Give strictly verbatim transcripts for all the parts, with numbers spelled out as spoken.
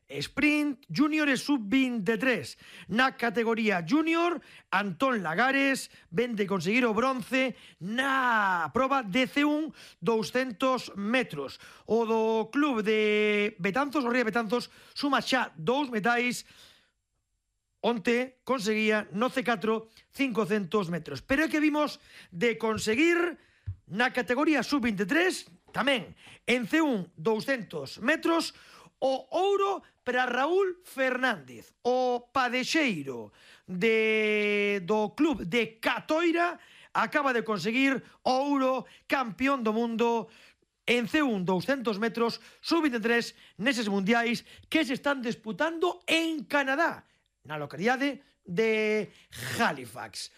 sprint, junior e sub veintitrés. Na categoría junior, Antón Lagares ven de conseguir o bronce na proba de C un doscientos metros. O do club de Betanzos, o Ría Betanzos, suma xa dous metais onte conseguía no C catro cincocentos metros. Pero é que vimos de conseguir na categoría sub veintitrés, tamén en C un doscientos metros, o ouro para Raúl Fernández, o padexeiro de, do club de Catoira, acaba de conseguir o ouro, campeón do mundo en C un doscientos metros, sub veintitrés, neses mundiais que se están disputando en Canadá, na localidade de Halifax.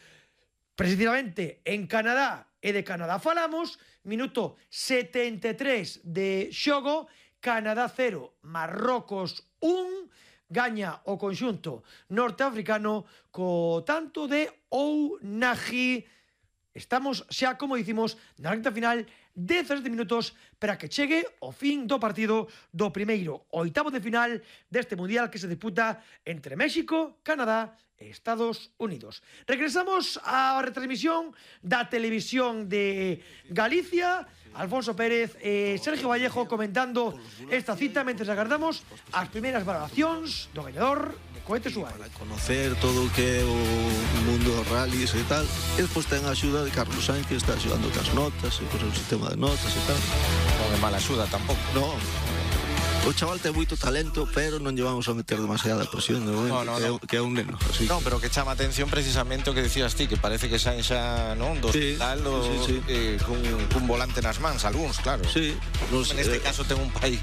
Precisamente en Canadá e de Canadá falamos, minuto setenta e tres de xogo, Canadá cero, Marrocos un, gaña o conxunto norteafricano co tanto de Ounahi. Estamos xa, como dicimos, na recta final, dezasete minutos para que chegue o fin do partido do primeiro oitavo de final deste mundial que se disputa entre México, Canadá e Estados Unidos. Regresamos á retransmisión da televisión de Galicia, Alfonso Pérez e Sergio Vallejo comentando esta cita mentre agardamos as primeiras valoracións do gañador de Cohete Suárez. Para conocer todo o que é o mundo dos rallies e tal, e despois ten a axuda de Carlos Sainz, que está axudando cas notas e con o sistema de notas e tal. Non é mala axuda tampouco. No, o chaval ten moito talento, pero non llevamos a meter demasiada presión de momento, no, no, que, no. É, que é un neno. Así non, pero que chama atención precisamente o que decías ti, que parece que saen xa, non, do sí, hospital o, sí, sí. Eh, cun, cun volante nas mans, algúns, claro. Sí. Nos, neste eh, caso ten un pai,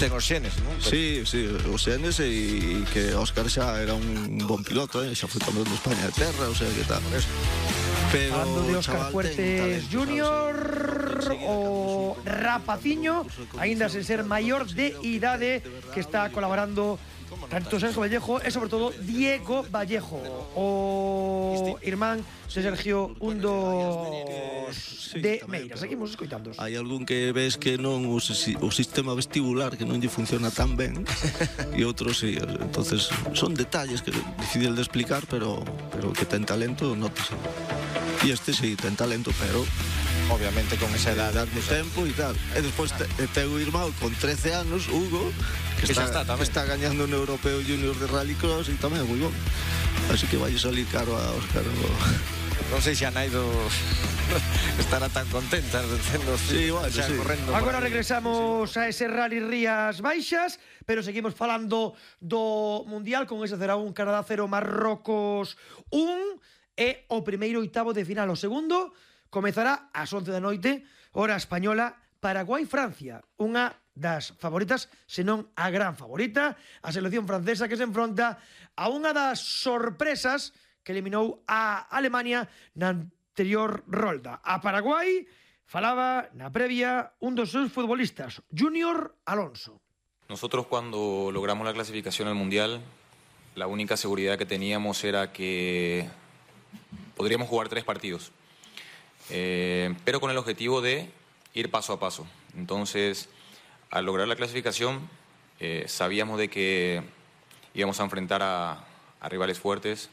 ten os xenes, non? Pero... Sí, sí, os xenes e que Óscar xa era un bon piloto, eh? Xa foi campeón de España de terra, o sea, que tal. Pero falando de Óscar Fuertes júnior, o rapaciño, aínda sen ser maior de idade, que está colaborando tanto Sergio Vallejo e sobre todo Diego Vallejo, o irmán de Sergio, un dos de Meira. Seguimos escoitando. Hai algún que ves que non o, o sistema vestibular que non lle funciona tan ben e outros sí, entonces son detalles que é difícil de explicar, pero pero que ten talento, nótase. E este sí, ten talento, pero obviamente con esa edad de tempo e tal. E despois te, te o irmão con trece anos, Hugo, que, que está, está, está gañando un europeo junior de rallycross e tamén é moi bon. Así que vai salir caro a Óscar. Non sei se a Naido estará tan contenta diciendo sí, bueno, xa sí. correndo. Agora regresamos a ese Rally Rías Baixas, pero seguimos falando do Mundial con ese cero a un, Canadá cero, Marrocos un, e o primeiro oitavo de final. O segundo comezará ás once da noite, hora española, Paraguai-Francia, unha das favoritas, senón a gran favorita, a selección francesa que se enfronta a unha das sorpresas que eliminou a Alemania na anterior rolda. A Paraguai falaba na previa un dos seus futbolistas, Junior Alonso. Nosotros cuando logramos la clasificación al Mundial, la única seguridad que teníamos era que podríamos jugar tres partidos, eh, pero con el objetivo de ir paso a paso. Entonces, al lograr la clasificación, eh, sabíamos de que íbamos a enfrentar a, a rivales fuertes,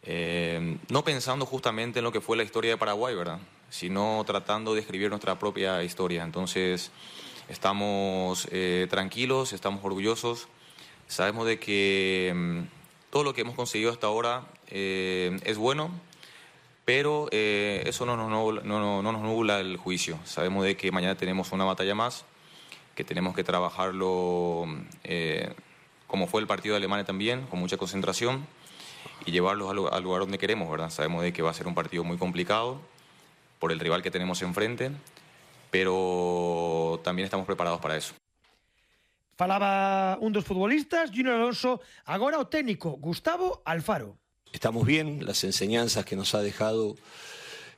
eh, no pensando justamente en lo que fue la historia de Paraguay, ¿verdad?, sino tratando de escribir nuestra propia historia. Entonces, estamos eh, tranquilos, estamos orgullosos, sabemos de que eh, todo lo que hemos conseguido hasta ahora eh, es bueno, pero eh, eso no nos, nubla, no, no nos nubla el juicio. Sabemos de que mañana tenemos una batalla más, que tenemos que trabajarlo eh, como fue el partido de Alemania también, con mucha concentración, y llevarlos al, al lugar donde queremos, ¿verdad? Sabemos de que va a ser un partido muy complicado por el rival que tenemos enfrente, pero también estamos preparados para eso. Falaba un dos futbolistas, Junior Alonso, agora o técnico Gustavo Alfaro. Estamos bien, las enseñanzas que nos ha dejado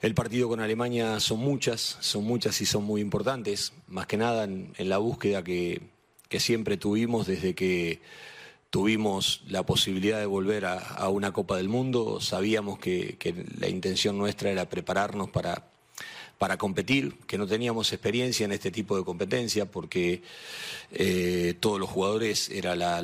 el partido con Alemania son muchas, son muchas y son muy importantes, más que nada en, en la búsqueda que, que siempre tuvimos desde que tuvimos la posibilidad de volver a, a una Copa del Mundo. Sabíamos que, que la intención nuestra era prepararnos para, para competir, que no teníamos experiencia en este tipo de competencia porque eh, todos los jugadores era la